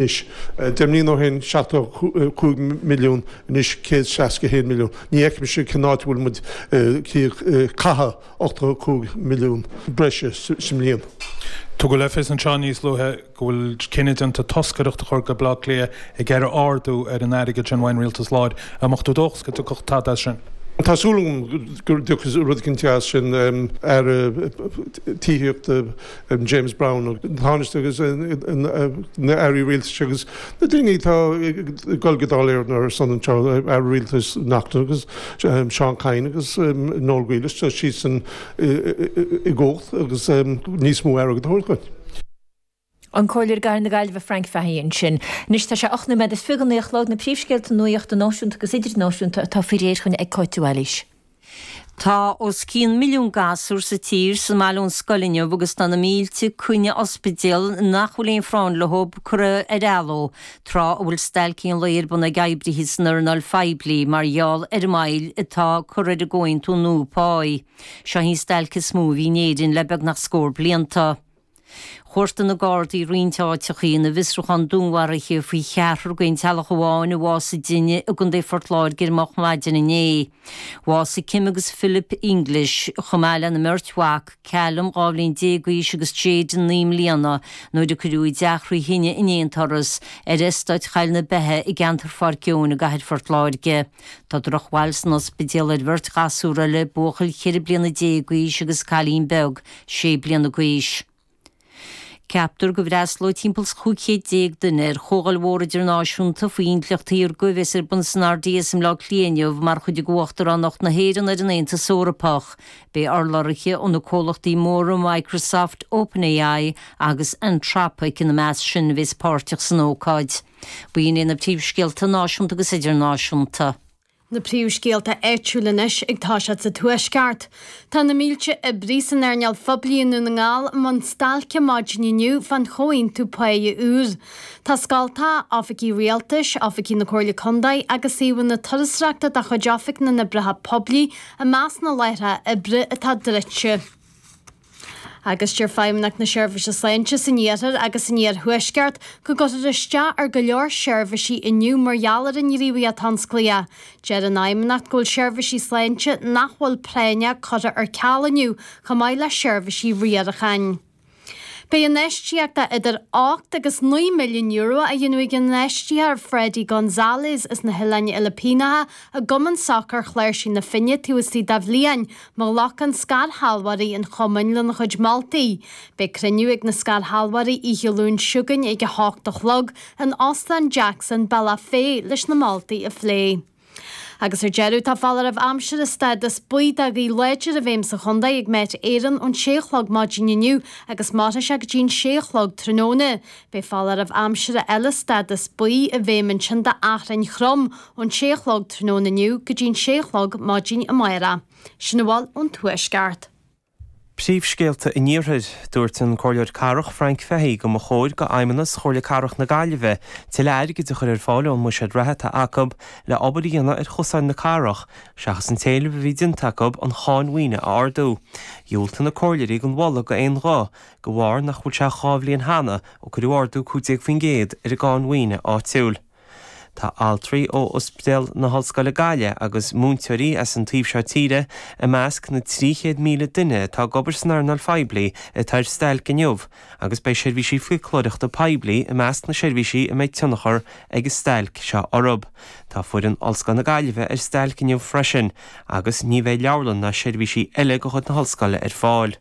Anois, 10 mbliana ó shin, 75 milliún, anois 161 milliún. Ní fheicimse cén áit a bhfuil muid ag caitheamh 85 milliún breise sa mbliain. Tugadh le fios anseo níos luaithe go bhfuil cinneadh déanta toscaireacht a chur go Baile Átha Cliath ag iarraidh ardú ar an airgead sin uaidh an rialtas láir. An mbeadh tú dóchasach go dtiocfadh tada as sin? Tá súil agam go dtiocfaidh rud eicínt as sin, Aire Tithíochta, James Browne, an Tánaiste agus na Airí Rialtais agus na daoine atá ag dul go Dáil Éireann ar a son anseo, Aire Rialtais Naughten agus Seán Kyne agus Noel Grealish, tá siadsan i gcumhacht agus níos mó airgid a thabhairt dúinn. An Comhairleoir i gCathair na Gaillimhe Frank Fahey ansin. Anois tá sé 8 nóiméad is 29 a chlog, na príomhscéalta nuachta náisiúnta agus idirnáisiúnta atá faoi réir chugainn ag Cáit de Bhailís. Tá os cionn milliún gasúr sa tír sa mbaile ón scoil inniu agus tá na mílte coinne ospidéal nach bhfuil aon phráinn leo curtha ar athló, tráth a bhfuil stailcí an lae ar bun ag oibrithe san earnáil phoiblí mar gheall ar an moill atá curtha ar an gcomhaontú nua páí. Seo í an stailc is mó a bhí in Éirinn le beagnach scór blianta. Chuartaigh na Gardaí roinnt áiteachaí ina bhfiosrúchán dúnmharaithe faoi cheathrar d'aon teaghlach amháin a bhásaigh i dtine i gContae Phort Láirge ar moch maidin inné. Bhásaigh Kim agus Philip English, chomh maith lena mbeirt mhac, Callum, 12 bhliain d'aois agus Jayden, 9 mbliana, nuair a cuireadh a dteach thrí thine in aon turas ar eastát Choill na Beithe i gceantar Pháirc Eoin i gcathair Phort Láirge. Tá drochbhail san ospidéal ar bheirt ghasúr eile, buachaill 14 bliana d'aois agus cailín beag, 6 bliana d'aois. Ceaptar go bhfreastalóidh timpeall is 1500 duine ar chomhdháil mhór idirnáisiúnta faoi intleacht shaorga a bheas ar bun san RDS i mBleá Cliath inniu mar chuid de Uachtaránacht na hÉireann ar an Aontas Eorpach. Beidh urlabhraithe ó na comhlachtaí móra Microsoft, OpenAI agus Anthropic ina measc sin a bheas páirteach san ócáid. B'in iad na príomhscéalta náisiúnta agus idirnáisiúnta. Na príomhscéalta áitiúla anois ag toiseacht sa Tuaisceart. Tá na mílte oibrí san earnáil phoiblí i nDún na nGall i mbun stailce maidin inniu fán chomhaontú páighe úr. Tá scoltacha, oifigí rialtais, oifigí na Comhairle Contae agus suíomhanna turasóireachta de chuid Oifig na nOibreacha Poiblí i measc na láithreacha oibre atá druidte. Agus deir Feidhmeannacht na Seirbhíse Sláinte san Iarthar agus san Iarthuaisceart go gcuirfear isteach ar go leor seirbhísí inniu mar gheall ar an ngníomhaíocht thionsclaíoch. Deir an Fheidhmeannacht go bhfuil seirbhísí sláinte nach bhfuil práinneach curtha ar ceal inniu chomh maith le seirbhísí riaracháin. Beidh infheistíocht de idir €8 agus €9 milliún á dhéanamh ag an infheistitheoir Fredy Gonzalez as na hOileáin Fhilipíneacha i gCumann Sacair Chláirsigh na Finne taobh istigh de bhliain má ghlacann scairshealbhóirí an chumainn lena chuid moltaí. Beidh cruinniú ag na scairshealbhóirí oíche Luain seo chugainn ag 8 a chlog in Óstán Jackson, Bealach Féich leis na moltaí a phlé. Agus ar deireadh, tá foláireamh aimsire stádas buí de ghaoth láidir i bhfeidhm sa chontae ag Met Éireann ón sé a chlog maidin inniu agus mairfidh sé go dtí an sé a chlog tráthnóna. Beidh foláireamh aimsire eile stádas buí i bhfeidhm ansin d'achrainn throm ón sé a chlog tráthnóna inniu go dtí an sé a chlog maidin amárach. Sin a bhfuil ón Tuaisceart. Príomhscéalta an Iarthair. Dúirt an Comhairleoir Cathrach Frank Fahey go mba chóir go Fheidhmeannas Chomhairle Cathrach na Gaillimhe tuilleadh airgid a chur ar fáil ón mbuiséad reatha atá acu le obair a dhéanamh ar chosáin na cathrach seachas an t-éileamh a bhí déanta acu an cháin mhaoine a ardú. Dhiúltaigh na comhairleoirí don mholadh d'aon ghuth de bharr nach bhfuil sé ach 2 bhliain cheana ó cuireadh ardú 15% ar an gcáin mhaoine áitiúil. Tá altraí ó Ospidéal na hOllscoile Gaillimh agus múinteoirí as an taobh seo tíre i measc na 300,000 duine atá ag obair san earnáil phoiblí atá ar stailc inniu agus beidh seirbhísí fiaclóireachta poiblí i measc na seirbhísí a mbeidh tionchar ag an stailc seo orthu. Tá foireann Ollscoil na Gaillimhe ar stailc inniu freisin agus ní bheidh leabharlann ná seirbhísí eile de chuid na hOllscoile ar fáil.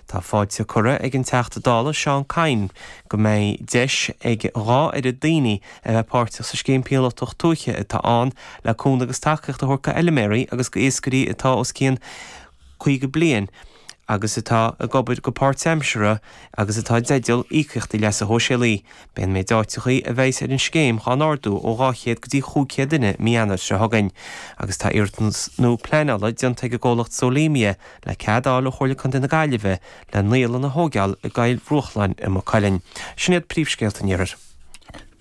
Tá fáilte curtha ag an Teachta Dála Seán Kyne go mbeidh deis ag dhá oiread daoine a bheith páirteach sa scéim píolótach tuaithe atá ann le cúnamh agus tacaíocht a thabhairt go fheilméaraí agus go iascairí atá os cionn 50 bliain agus atá ag obair go páirtaimseartha agus atá i dteideal íocaíochtaí leasa shóisialaí. Beidh an méid áiteachaí a bheidhs ar an scéim dhá n-ardú ó 200 go dtí 500 duine mí Eanáir seo chugainn agus tá iarratas nua pleanála déanta ag an gcomhlacht Solemia le cead a fháil ó Chomhairle Contae na Gaillimhe le naíolann a thóigeáil i gCoill Bhruachláin i Maigh Cuilinn. Sin iad príomhscéalta an Iarthair.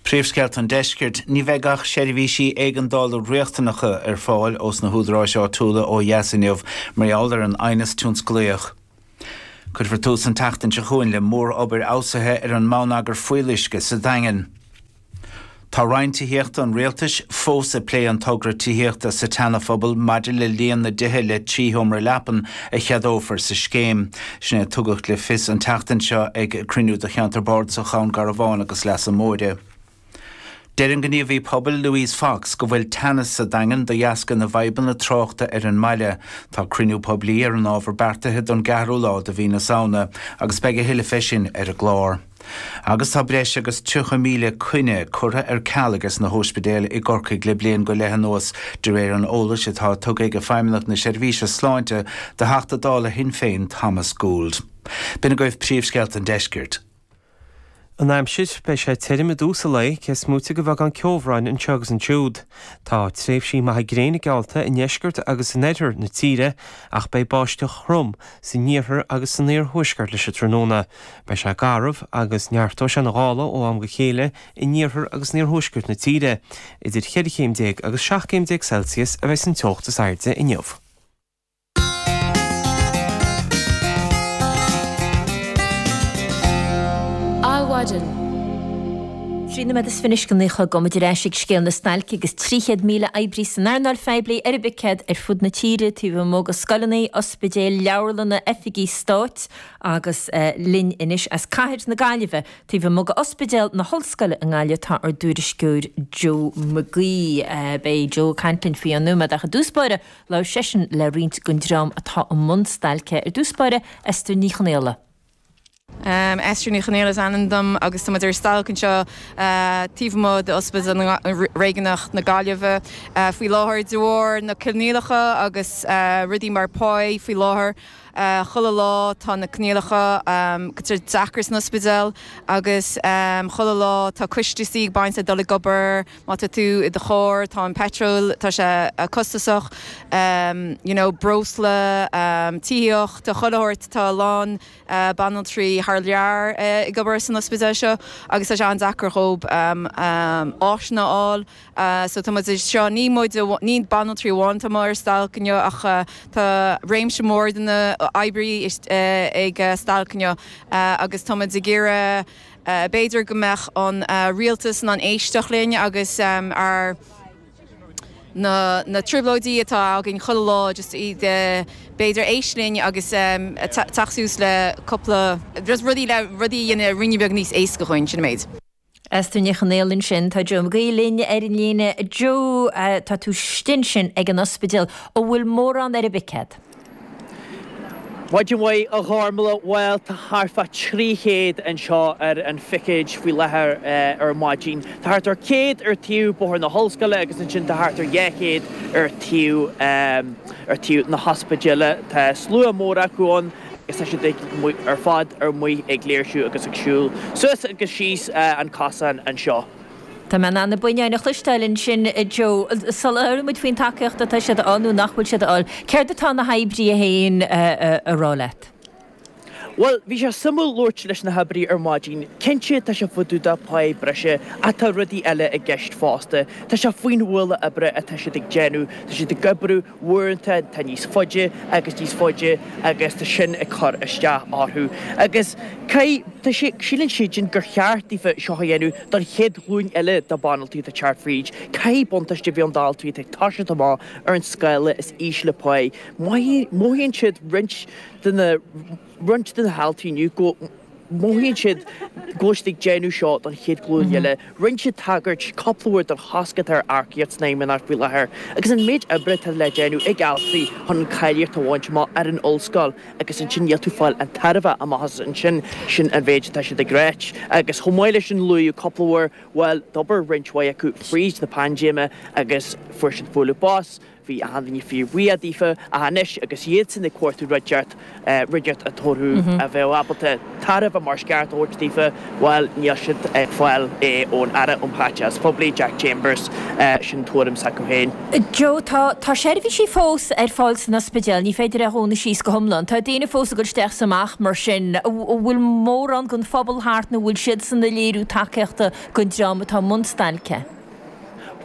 Príomhscéalta an Deiscirt, Ní bheidh ach seirbhísí éigeandála riachtanacha ar fáil ós na húdaráis áitiúla ó dheas inniu mar gheall ar an aighneas tionsclaíoch. Cuirfear tús an tseachtain seo chugainn le mór-obair fheabhsaithe ar an mbonneagar fuíolluisce sa Daingean. Tá Roinn Tithíochta an Rialtais fós ag plé an togra tithíochta sa tSeana-Phobal maidir le líon na dtithe le 3 sheomra leapan a cheadófar sa scéim. Sin é a tugadh le fios an tseachtain seo ag cruinniú de Cheantar Bardasach Dhún Garbhán agus Leasa Móire. Deir an gníomhaí pobail Louise Fox go bhfuil teannas sa Daingean de dheasca na bhfadhbanna tráchta ar an mbaile. Tá cruinniú poiblí ar an ábhar beartaithe don gceathrú lá de mhí na Samhna agus beidh a thuilleadh fé sin ar an gclár. Agus tá breis agus 30,000 coinne curtha ar ceal ages na hóispidéil i gCorcaigh le bliain go leith anuas, de réir an eolais atá tugtha ag Feidhmeannacht na Seirbhíse Sláinte do Theachta Dála Shinn Féin Thomas Gould. B'in agaibh príomhscéalta an deiscirt. An aimsir, beidh sé tirim i dtús an lae, cé is móite de bheagán ceobhráin anseo agus ansiúd. Tá tréimhsí maithe gréine geallta i ndeisceart agus in oirthear na tíre ach beidh báisteach throm san iarthar agus san iarthuaisceart leis an tráthnóna. Beidh sé garbh agus neartóidh sé na gála ó am go chéile in iarthar agus in iarthuaisceart na tíre. Idir cheithre chéim déag agus 17 céim Celsius a bheidh an teocht is airde inniu. Adhmhaidin. 13 nóiméad is fiche anois go 9 a chlog gabhfaidh muid ar ais ag scéal na stailce agus 300,000 oibrí san earnáil phoiblí ar an bpicéad ar fud na tíre taobh amuigh de scoileanna, ospidéil, leabharlanna, oifigí stáit agus linn anois as cathair na Gaillimhe taobh amuigh de Ospidéal na hOllscoile i nGaillimh tá ár dtuairisceoir Joe McGee. Beidh Joe ag caint linn faoi cheann nóiméad ach i dtús báire Labhair seisean le roinnt den dream atá i mbun stailce, ar dtús báire, Esther Ní Chonaola. Esther Ní Chonaola is ainm dom agus tá muid ar stailc anseo taobh amuigh d'Ospidéal Réigiúnach na Gaillimhe faoi láthair de bharr na coinníollacha agus rudaí mar pá faoi láthair. Chuile lá tá na coinníollacha deacair san ospidéal agus chuile lá tá costaisí ag baint le dul ag obair. Má tá tú i do charr, tá an petrol, tá sé costasach, you know, breosla, tithíocht, tá chuile shórt, tá a lán banaltraí thar lear ag obair san ospidéal seo agus tá sé an-deacair dhóibh áiseanna a fháil. So tá muid anseo, ní muid, ní banaltraí amháin atá amuigh ar stailc inniu ach tá réimse mór de na oibrithe ag stailc inniu agus tá muid ag iarraidh, B'fhéidir go mbeadh an rialtas in ann éisteacht linn agus ár na na trioblóidí atá againn chuile lá just iad b'fhéidir éist linn agus teacht suas le cúpla just rudaí le rudaí a dhéanamh ruainne beag níos éasca dhúinn, sin an méid. Esther Ní Chonaola ansin. Tá Joe McGee linn ar an líne. Joe, tá tú istigh ansin ag an ospidéal. An bhfuil mórán ar an bpicéad? Maidin mhaith, a Ghormlaith. Bhuel, tá thart fá 300 anseo ar an phicéad faoi láthair ar maidin. Tá thart ar 100 ar taobh Bóthar na hOllscoile agus ansin tá thart ar 200 ar taobh ar taobh na hospidéile. Tá slua mór acu ann agus tá siad ar fad ar amuigh ag léirsiú agus ag siúl suas agus síos an cosán anseo. Tá mé in ann na buinneáin a chloisteáil ansin, a Joe. Sula labhraíonn muid faoin tacaíocht atá siad a fháil nó nach bhfuil siad a fháil, céard atá na hoibrithe féin a rá leat? Bhuel, bhí sé suimiúil labhairt leis na hoibrithe ar maidin. Cinnte, tá sé fá dtaobh de pá breise ach tá rudaí eile i gceist fosta. Tá sé faoin ualach oibre atá siad ag déanamh. Tá siad ag oibriú uaireanta atá níos faide agus níos faide agus tá sin ag cur isteach orthu. Agus caithfidh, tá sé, síleann siadsan gur cheart daofa seo a dhéanamh don chéad ghlúin eile de banaltraí atá ag teacht fríd. Caithfidh buntáiste a bheith ann d'altraí atá ag toiseacht amach ar an scála is ísle páí. Mothaíonn siad roinnt de na, roinnt de na haltraí inniu go, mothaíonn siad go bhfuil siad ag déanamh seo don chéad ghlúin eile. Rinne siad tagairt cúpla uair don chosc atá ar earcaíocht san Fheidhmeannacht faoi láthair agus an méid oibre atá le déanamh ag altraí chun an cáilíocht a bhaint amach ar an ollscoil agus ansin níl tú ag fáil an tairbhe amach as ansin, sin an mhéid atá siad ag ráit. Agus chomh maith leis sin luaíodh cúpla uair, bhuel, d'obair roinnt mhaith acu fríd na paindéime agus fuair siad bualadh bos, Bhí achan duine fíorbhuíoch daofa, ach anois agus iadsan ag cuartú rud inteacht, rud inteacht a tabharfadh, a bheadh ábalta tairbhe mar is ceart a thabhairt daofa, bhuel, níl siad ag fáil é ón Aire um Chaiteachas Poiblí, Jack Chambers, sin tuairim s'acu féin. Joe, tá, tá seirbhísí fós ar fáil san ospidéal, ní féidir é a dhúnadh síos go hiomlán. Tá daoine fós ag dul isteach is amach mar sin. An bhfuil mórán den phobal thart nó an bhfuil siadsan ag léiriú tacaíochta don dream atá i mbun stailce?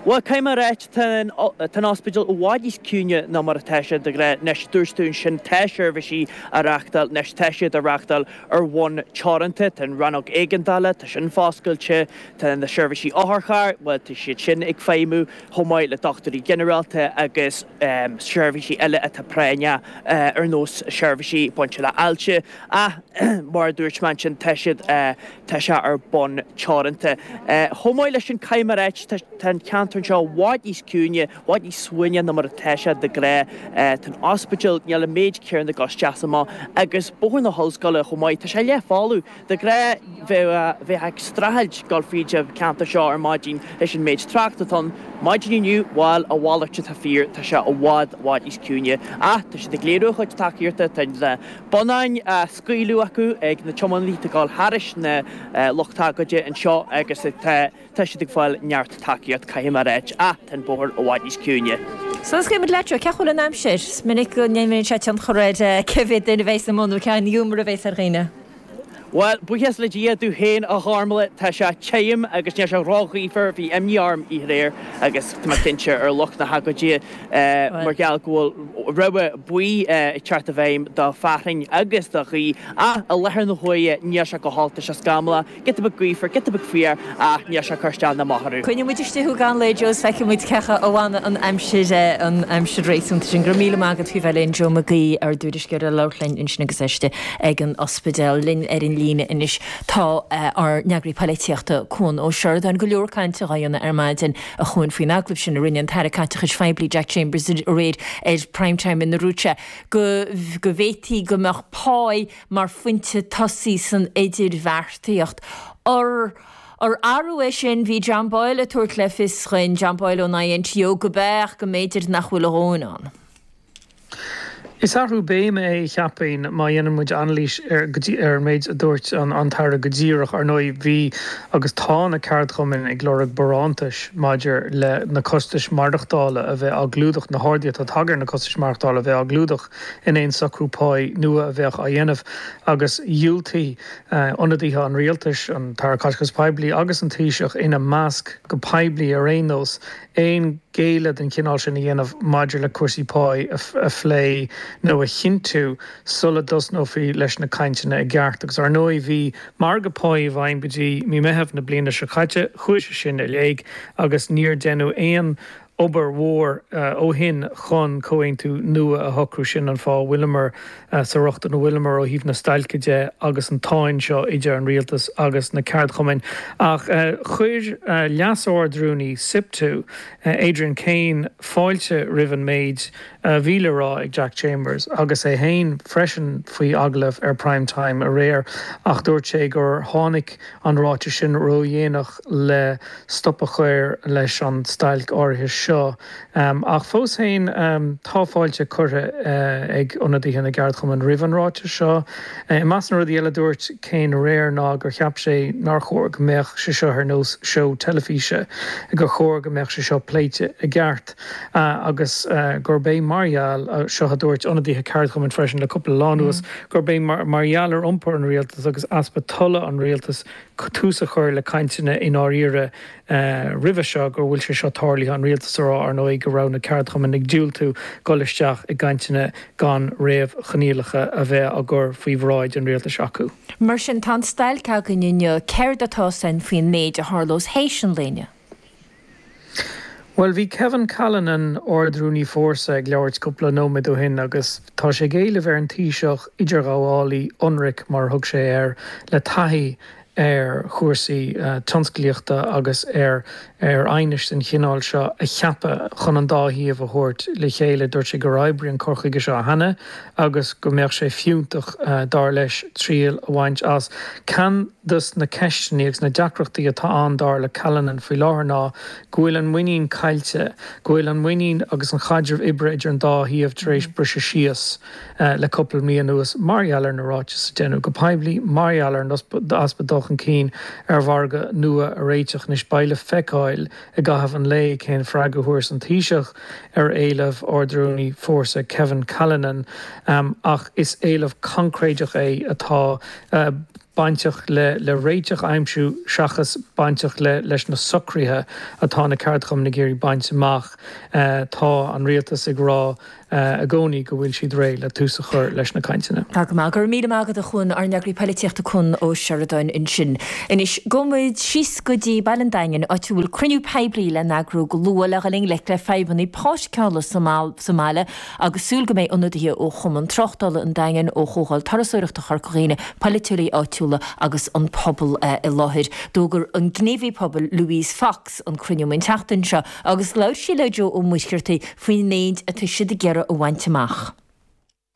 Bhuel, caithfidh mé a ráit, tá an ospidéal i bhfad níos ciúine ná mar atá sé de ghnáth. Anois, dúirt tú ansin, tá seirbhísí á reáchtáil, anois tá siad á reáchtáil ar bhonn teoranta. Tá an rannóg éigeandála, tá sin foscailte, tá na seirbhísí otharchairr, bhuel, tá siad sin ag feidhmiú, chomh maith le dochtúirí ginearálta agus seirbhísí eile atá práinneach, ar nós seirbhísí bainte le hailse. Ach, mar a dúirt mé ansin, tá siad, Tá sé ar bonn teoranta. Chomh maith leis sin, caithfidh mé a ráit, tá an ceantar anseo i bhfad níos ciúine, i bhfad níos suaimhní ná mar atá sé de ghnáth. Tá an ospidéal, níl an méid céanna ag dul isteach is amach, agus Bóthar na hOllscoile chomh maith, tá sé leathfholamh. De ghnáth, bheifeá ag streachailt dul fríd an ceantar seo ar maidin leis an méid trácht atá ann. Maidin inniu, bhuel, a mhalairt atá fíor, tá sé i bhfad, i bhfad níos ciúine. Ach tá siad ag léiriú a chuid tacaíochta, tá na bonnáin á scaoileadh acu ag na tiománaithe atá ag dul thairis na lucht agóide anseo agus tá tá siad ag fáil neart tacaíocht, caithfidh mé a ráit, ach tá an bóthar i bhfad níos ciúine. Sula scaoilfidh muid leat, Joe, cén chaoi a bhfuil an aimsir? Is minic go n-imríonn sé tionchar ar cé mhéad duine a bheas amuigh nó cén ghiúmar a bheas ar dhaoine. Bhuel, buíochas le Dia domh féin, a Ghormlaith, tá sé tirim agus níl sé ró-ghaofar, bhí imní orm oíche aréir agus tá mé cinnte ar lucht na hagóide mar gheall go bhfuil rabhadh buí ag teacht i bhfeidhm do fhearthainn agus do ghaoth ach i láthair na huaire níl sé go holc, tá sé scamallach, giota beag gaofar, giota beag fuar ach níl sé ag cur isteach ná amach orainn. Coinneoidh muid istigh thú i gcaitheamh an lae Joe is feicfidh muid cé acu a bhainfidh an aimsir an aimsir réasúnta sin. Go raibh míle maith agat faoi bheith linn, Joe Mac Aoidh, ár dtuairisceoir ag labhairt linn ansin agus é istigh ag an ospidéal. Linn ar an líne anois tá ár n-eagraí polaitíochta, Cuan Ó Seireadáin. Go leor cainte dhá dhéanamh ar maidin, a Chuain, faoin agallamh sin a rinne an tAire Caiteachais Phoiblí Jack Chambers aréir ar Prime Time ina ndúirt sé go go bhféadfaí go mbeadh pá mar phointe tosaigh san idirbheartaíocht. Ar ar athrú é sin? Bhí John Boyle ag tabhairt le fios dhuinn, John Boyle ón INTO, go b'ea ach go mb'fhéidir nach bhfuil a dhóthain ann. Is athrú béime é, cheapfainn, má dhéanann muid anailís ar ar an méid a dúirt an tAire go díreach. Ar ndóigh, bhí agus tá na ceardchumainn ag lorg barántais maidir le na costais maireachtála a bheith á gclúdach, na harduithe atá tagtha ar na costais maireachtála a bheith á gclúdach in aon socrú páí nua a bheadh á dhéanamh. Agus dhiúltaigh ionadaithe an rialtais, an tAire Caiteachais Poiblí agus an Taoiseach ina measc, go poiblí ar aon nós, aon ghéilleadh den chineál sin a dhéanamh maidir le cúrsaí páí a phlé nó a chinntiú sula dtosnófaí leis na cainteanna i gceart. Agus ar ndóigh bhí margadh páí i bhfeidhm go dtí mí Meitheamh na bliana seo caite, chuaigh sé sin i léig agus níor deineadh aon obair mhór ó shin chun comhaontú nua a shocrú. Sin an fáth a bhfuileamar sa riocht ina bhfuileamar ó thaobh na stailce de agus an tsáinn seo idir an rialtas agus na ceardchumainn. Ach chuir Leas-Ard-Rúnaí Siptu, Adrian Kane, fáilte roimh an méid a bhí le rá ag Jack Chambers agus é féin freisin faoi agallamh ar Prime Time aréir ach dúirt sé gur tháinig an ráiteas sin ródhéanach le stop a chur leis an stailc áirithe seo. Ach fós féin, tá fáilte curtha ag ionadaithe na gceardchumann roimh an ráiteas seo. I measc na rudaí eile a dúirt Kane aréir ná gur cheap sé nár chóir go mbeadh sé seo ar nós seó teilifíse, gur chóir go mbeadh sé seo pléite i gceart agus gurb é mar gheall, seo a dúirt ionadaithe ceardchumainn freisin le cúpla lá anuas, gurb é mar gheall ar iompar an rialtais agus easpa tola an rialtais tús a chur le cainteanna i ndáiríre roimhe seo go bhfuil sé seo tarlaithe, an rialtas a rá, ar ndóigh, go raibh na ceardchumainn ag diúltú dul isteach i gcainteanna gan réamhchoinníollacha a bheith á gcur faoi bhráid an rialtais acu. Mar sin, tá an stailc againn inniu. Céard atá ann faoin méid a tharlós théis an lae inniu? Bhuel, bhí Kevin Callinan, Ard-Rúnaí Fórsa, ag labhairt cúpla nóiméad ó shin agus tá sé ag éileamh ar an Taoiseach idirghabhálaí ionraic, mar a thug sé air, le taithí ar chúrsaí tionsclaíochta agus ar ar aighnis den chineál seo a cheapadh chun an dá thaobh a thabhairt le chéile. Dúirt sé gur oibrigh an cur chuige seo cheana agus go mbeadh sé fiúntach, dar leis, triail a bhaint as. Ceann dos na ceisteanna agus na deacrachtaí atá ann, dar le Callinan, faoi láthair ná go bhfuil an muinín caillte, go bhfuil an muinín agus an chaidreamh oibre idir an dá thaobh tar éis briseadh síos le cúpla mí anuas mar gheall ar na ráitis a deineadh go poiblí, mar gheall ar an easpa dul chun cinn ar mhargadh nua a réiteach. Anois beidh le feiceáil i gcaitheamh an lae cén freagra a thabharfas an Taoiseach ar éileamh Ard-Rúnaí Fórsa Kevin Callinan ach is éileamh concréideach é atá bainteach le réiteach a aimsiú seachas. bainteach le leis na socruithe atá na ceardchumainn ag iarraidh baint amach. Tá an rialtas ag rá i gcónaí go bhfuil siad réidh le tús a chur leis na cainteanna. Tá go maith. Go raibh míle maith agat a Chuan, ár n-eagraí poilitíochta Cuan Ó Seireadáin ansin. Anois, gabhfaidh muid síos go dtí Baile an Daingin, áit a bhfuil cruinniú poiblí le n-eagrú go luath le dhul i ngleic le fadhbanna páirceála sa mbaile agus súil go mbeidh ionadaithe ó Chumann Tráchtála an Daingin, ó Chomhdháil Turasóireachta Chorca Dhuibhne, polaiteoirí áitiúla agus an pobal i láthair. D'fhógair an gníomhaí pobail Louise Fox an cruinniú an tseachtain seo agus labhair sí le Joe Ó Muircheartaigh faoin méid atá siad ag iarraidh a bhaint amach.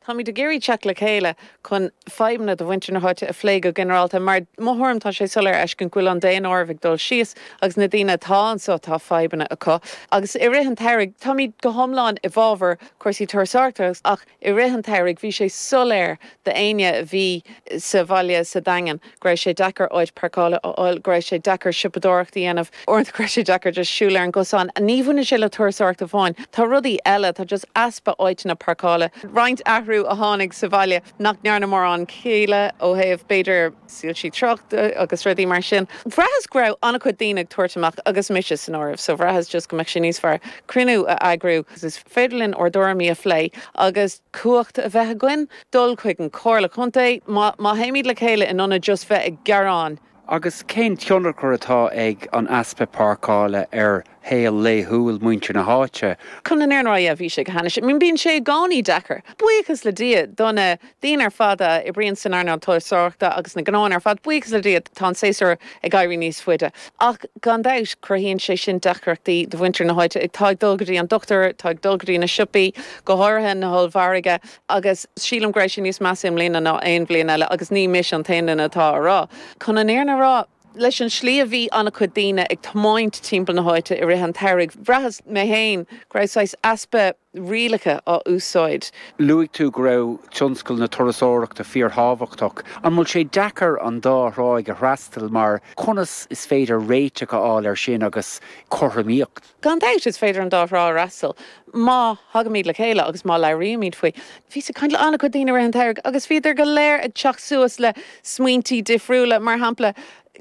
Táimid ag iarraidh teacht le chéile chun fadhbanna do mhuintir na háite a phlé go ginearálta mar, mo thuairim, tá sé soiléir a fheiscint go bhfuil an daonáireamh ag dul síos agus na daoine atá anseo tá fadhbanna acu. Agus i rith an tsamhraidh, táimid go hiomlán i bhfabhar cúrsaí turasóireachta ach i rith an tsamhraidh bhí sé soiléir d'éinne a bhí sa bhaile sa Daingean go raibh sé deacair áit páirceála a fháil, go raibh sé deacair siopadóireacht a dhéanamh, uaireanta go raibh sé deacair just siúl ar an gcosán. Ní bhaineann sé le turasóireacht amháin, tá rudaí eile, tá just easpa áiteanna páirceála, roinnt athrú a tháinig sa bhaile nach ndearna mórán céille ó thaobh b'fhéidir soilsí tráchta agus rudaí mar sin. Bhraitheas go raibh an-chuid daoine ag tabhairt amach agus mise san áireamh so bhraitheas just go mbeadh sé níos fearr cruinniú a eagrú agus is féidir linn ár dtuairimí a phlé agus cumhacht a bheith againn. dul chuig an Chomhairle Contae má théimid le chéile in ionad just bheith ag gearán. Agus cén tionchar atá ag an easpa páirceála ar shaol laethúil muintir na háite? Chun an fhírinne a rá, yeah, bhí sé go hainnis. I mean, bíonn sé i gcónaí deacair. Buíochas le Dia do na daoine ar fad a oibríonn san earnáil turasóireachta agus na gnóanna ar fad, buíochas le Dia tá an séasúr ag éirí níos faide. Ach gan dabht, cruthaíonn sé sin deacrachtaí do mhuintir na háite atá ag dul go dtí an dochtúir, atá ag dul go dtí na siopaí, go háirithe na hollmhargaí. Agus sílim go raibh sé níos measa i mbliana ná aon bhliain eile agus ní mise an t-aon duine atá á rá. Chun an fhírinne a rá, leis an slí a bhí an-chuid daoine ag tiomáint timpeall na háite i rith an tsamhraidh, bhraitheas, mé féin, go raibh saghas easpa rialacha á úsáid. Luaigh tú go raibh tionscal na turasóireachta fíorthábhachtach. An bhfuil sé deacair an dá thráigh a fhreastal mar conas is féidir réiteach a fháil air sin agus cothromaíocht? Gan dabht, is féidir an dá thrá a fhreastal má thagaimid le chéile agus má labhraímid faoi. Bhíos ag caint le an-chuid daoine i rith an tsamhraidh agus bhíodar go léir ag teacht suas le smaointí difriúla, mar shampla,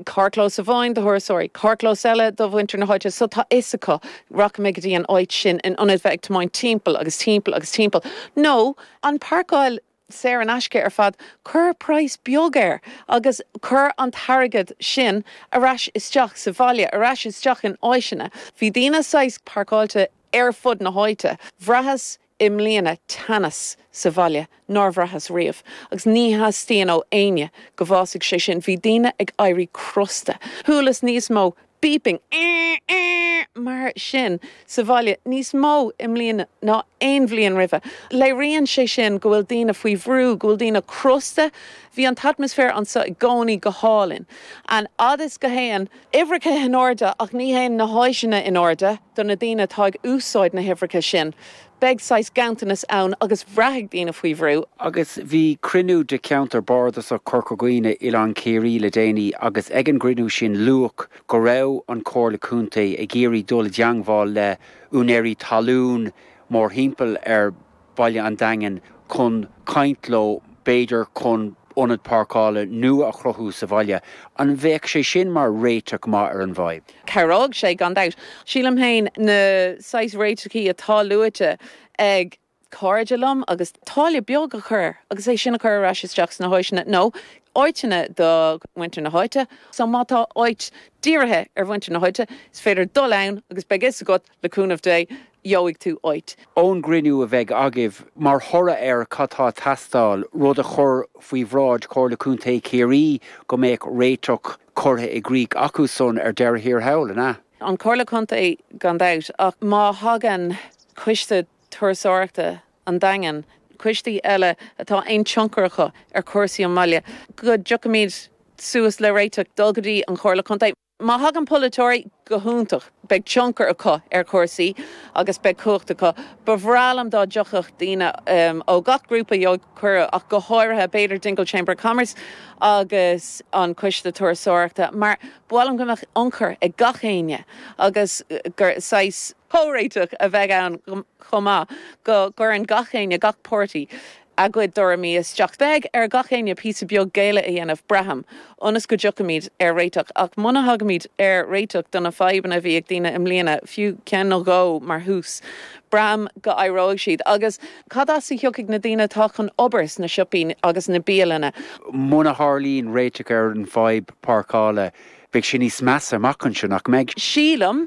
carrchlós amháin do thurasóirí, carrchlós eile do mhuintir na háite so tá fhios acu, rachaidh mé go dtí an áit sin in ionad bheith ag tiomáint timpeall agus timpeall agus timpeall. Nó an páirceáil saor in aisce ar fad, cuir praghas beag air agus cuir an t-airgead sin ar ais isteach sa bhaile, ar ais isteach in áiseanna. Bhí daoine saghas páirceáilte ar fud na háite. Bhraitheas i mbliana teannas sa bhaile nár bhraitheas riamh agus ní theastaíonn ó éinne go bhfásfaidh sé sin. Bhí daoine ag éirí crosta. Chualas níos mó beeping, ear, ear, mar sin sa bhaile níos mó i mbliana ná aon bhliain roimhe. Léiríonn sé sin go bhfuil daoine faoi bhrú, go bhfuil daoine crosta. Bhí an t-atmaisféar anseo i gcónaí go hálainn. An fhad is go théann uimhreacha in airde ach ní théann na háiseanna in airde do na daoine atá ag úsáid na huimhreacha sin. Beidh saghas ganntanas ann agus braithfidh daoine faoi bhrú. Agus bhí cruinniú de Cheantar Bardasach Chorca Dhuibhne, Oileán Ciarraí le déanaí agus ag an gcruinniú sin luadh go raibh an Chomhairle Contae ag iarraidh dul i dteangmháil le úinéirí talún mórthimpeall ar Bhaile an Daingin chun caint leo b'fhéidir chun ionad páirceála nua a chruthú sa bhaile. An mbeadh sé sin mar réiteach maith ar an bhfadhb? Cabhróidh sé, gan dabht. Sílim féin, na saghas réiteachaí atá luaite ag cairde liom agus táille beag a chur air agus é sin a chur ar ais isteach sna háiseanna nó áiteanna do mhuintir na háite. So má tá áit dírithe ar mhuintir na háite, is féidir dul ann agus beidh fhios agat, le cúnamh Dé, gheobhaidh tú áit. Ón gcruinniú a bheidh agaibh, mar thoradh air cad tá ag teastáil, rud a chur faoi bhráid Chomhairle Contae Chiarraí go mbeadh réiteach curtha i gcrích acu san ar deireadh thiar thall, an ea? An Chomhairle Contae gan dabht, ach má thagann Coiste Turasóireachta an Daingin, coistí eile atá aon tionchar acu ar chúrsaí an bhaile, go dtiocfaimid suas le réiteach, dul go dtí an Chomhairle Contae. Má thagann polaiteoirí, go hiontach, beidh tionchar acu ar chúrsaí agus beidh cumhacht acu. Ba bhreá liom dá dtiocfadh daoine ó gach grúpa, gheobhaidh cuireadh, ach go háirithe b'fhéidir Dingle Chamber of Commerce agus an Coiste Turasóireachta, mar ba mhaith liom go mbeadh ionchur ag gach éinne agus gur saghas comhréiteach a bheidh ann chomh maith, go gcuireann gach éinne, gach páirtí. A gcuid dtuairimí isteach. Beidh ar gach éinne píosa beag géilleadh a dhéanamh, braithim, ionas go dtiocfaimid ar réiteach. Ach muna thagaimid ar réiteach do na fadhbanna a bhí ag daoine i mbliana, fiú ceann nó dhó mar thús, braithim go éireoidh siad. Agus cad as a thiocfaidh na daoine atá chun obair sna siopaí agus na bialanna? Muna tharlaíonn réiteach ar an bhfadhb páirceála, beidh sé níos measa amach anseo, nach mbeidh? Sílim.